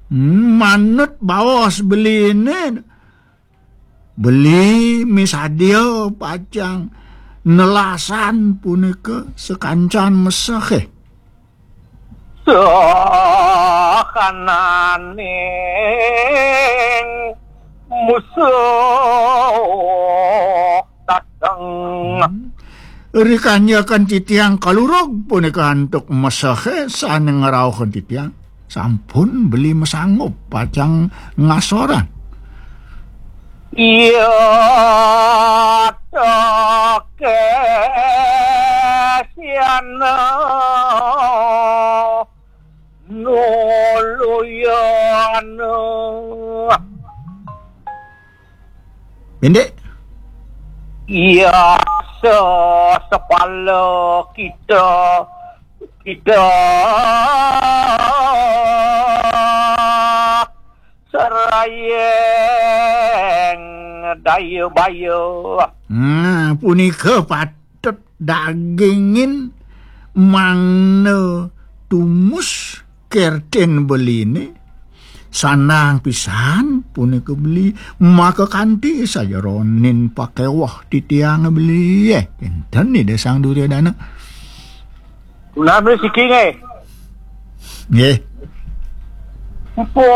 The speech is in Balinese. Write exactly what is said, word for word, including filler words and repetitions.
Hmm, manut baos beliné, beli misadia pacang nelasan punika sakancan mesehé. Sahananing musuh dateng. Hmm. Rikanyakan titiang kalurug punika antuk mesehé sané ngrauhang titiang. Sampun beli masanggup pacang ngasoran. Iya, tekesiana nuluyana. Indik. Iya, sesepala kita, kita serayeng daya baya. Nah, punika patut dagingin mangna tumus kertin beliné. Sandang pisan punika beli, maka kanti sajeroning pakéweh titiang beli. Eh, kinten Ida Sang Duryodana. Punapi siki nggih? Nggih. Pangucap